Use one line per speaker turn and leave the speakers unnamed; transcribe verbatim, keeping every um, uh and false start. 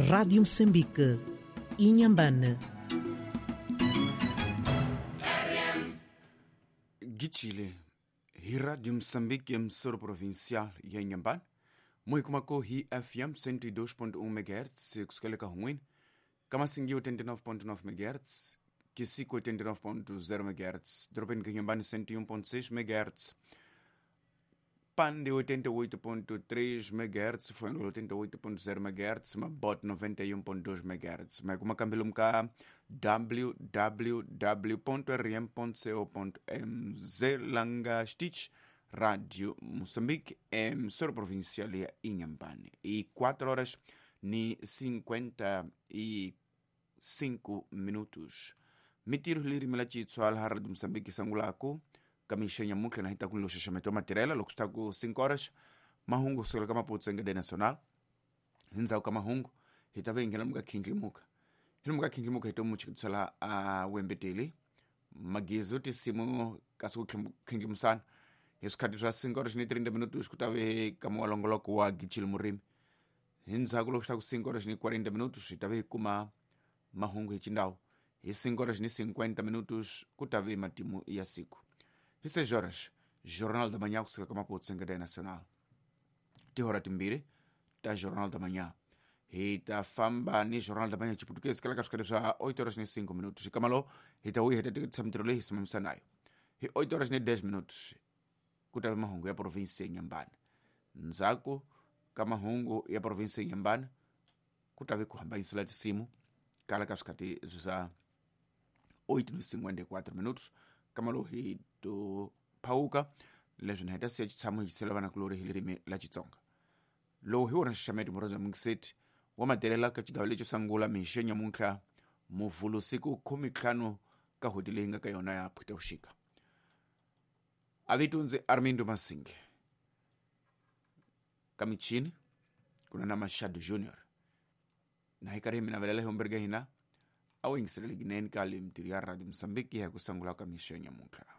Rádio Moçambique, Inhambane.
Gichile, hi Rádio Moçambique, emissora provincial ya Inhambane, muikumako hi F M cento e dois ponto um megahertz, kusukela ruim, Kamasingi oitenta e nove ponto nove megahertz, Kisico oitenta e nove ponto zero megahertz, Dropin Inhambane cento e um ponto seis megahertz, Pande oitenta e oito ponto três megahertz, foi oitenta e oito ponto zero megahertz, Mabot noventa e um ponto dois megahertz. Mas como cambilumka w w w ponto r m ponto co ponto m z langa stitch Rádio Moçambique, emissora provincial ya Inhambane. E quatro horas e cinquenta e cinco minutos. Mitiro liri melachitswal Rádio Moçambique sangulaku. Kamisha nyamuke na hita kunlo sheshameto matirela lokutaku cinco horas mahungu sokela kama putsenga de nacional hinza kama hungu hitave ingela mga kindlimuka hilmuka kindlimuka hito muchikutsala a wembeteli magizo tisimu kasu kindlimusana yesikhathi swa cinco horas ni trinta minutos kutave kama walongoloko wa Gichil Murimi hinza kulokutaku cinco horas ni quarenta minutos hitave kuma mahungu hichindawo hi cinco horas ni cinquenta minutos kutave matimu ya siku. E seis horas, Jornal da Manhã, que se chama Putsenga Nacional. Te hora timbire, tá Jornal da Manhã. E tá famba ni Jornal da Manhã de português, que ela quer já oito horas e cinco minutos. E camalo, e tá ui, e tá samtrole, e samsanaio. E oito horas e dez minutos. Kuta mahungu ya província Inhambane. Nzaku, kamahungu ya província Inhambane. Kuta vi kuhamba insula de simu. Kala kaskati já oito e cinquenta e quatro minutos. Kamalo hi to pauka leswi na hita siya tshamo hi tsela vana kulori hi lirimi la Xitsonga lowu hi wona nxaxameto murhandza mungiseti wa matirela ka xigawo lexo sungula mixo nyamuntlha muvhulo siku khume ntlhanu ka n'hweti leyi nga ka yona ya Phutavuxika. A vito ndzi Armindo Masinge ka michini ku na na Machado Junior na hi karhi mina velela hi humberga hina a wu yingiseleli kunene ka le mintirho ya Radio Moçambique ya ku sungula ka mixo nyamuntlha.